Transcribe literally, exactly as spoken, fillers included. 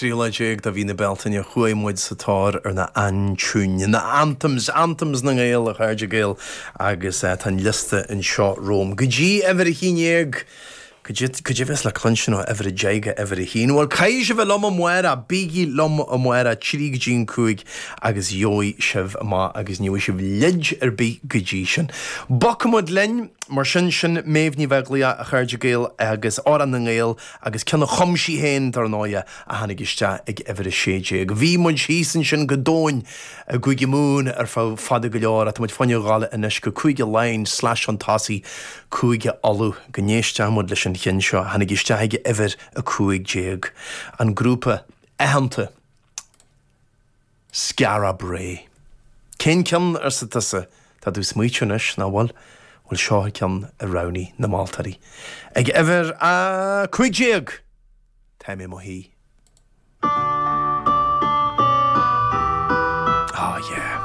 tríú lá déag de mhí na Bealtaine, chuaigh muid sa tóir ar na aintiúin, na anthems, anthems na nGael, a chairde Gael, agus tá an liosta anseo romham. Go dtí uimhir a haon déag, cad é a bheas le cluinstin ó uimhir a deich go uimhir a haon? Bhuel, caithfidh sibh a bheith liom amárach, bígí liom amárach, trí go dtí an cúig, agus gheobhaidh sibh amach agus ní bhfaighidh sibh leid ar bith go dtí sin. Bogfaidh muid linn, mar sin, sin Méabh Ní Bheaglaoich, a chairde Gael, agus Amhrán na nGael, agus ceann a chum sí féin, dar ndóighe, a tháinig isteach ag uimhir a sé déag. Bhí muid thíos ansin go domhain i gCúige Mumhan ar feadh fada go leor, ach tá muid fá choinne ghabháil anois go Cúige Laighean slash chun tosaigh, Cúige Uladh, go n-éistfidh muid leis an cheann seo a tháinig isteach ag uimhir a cúig déag, an grúpa aitheanta Skara Brae. Cén ceann, arsa tusa? Tá tú ag smaoitiú anois, nach bhfuil? Bhuel, seo an ceann a roghnaigh na moltóirí. Ag uimhir a cúig déag! Tá mé i mo shuí. Ah yeah.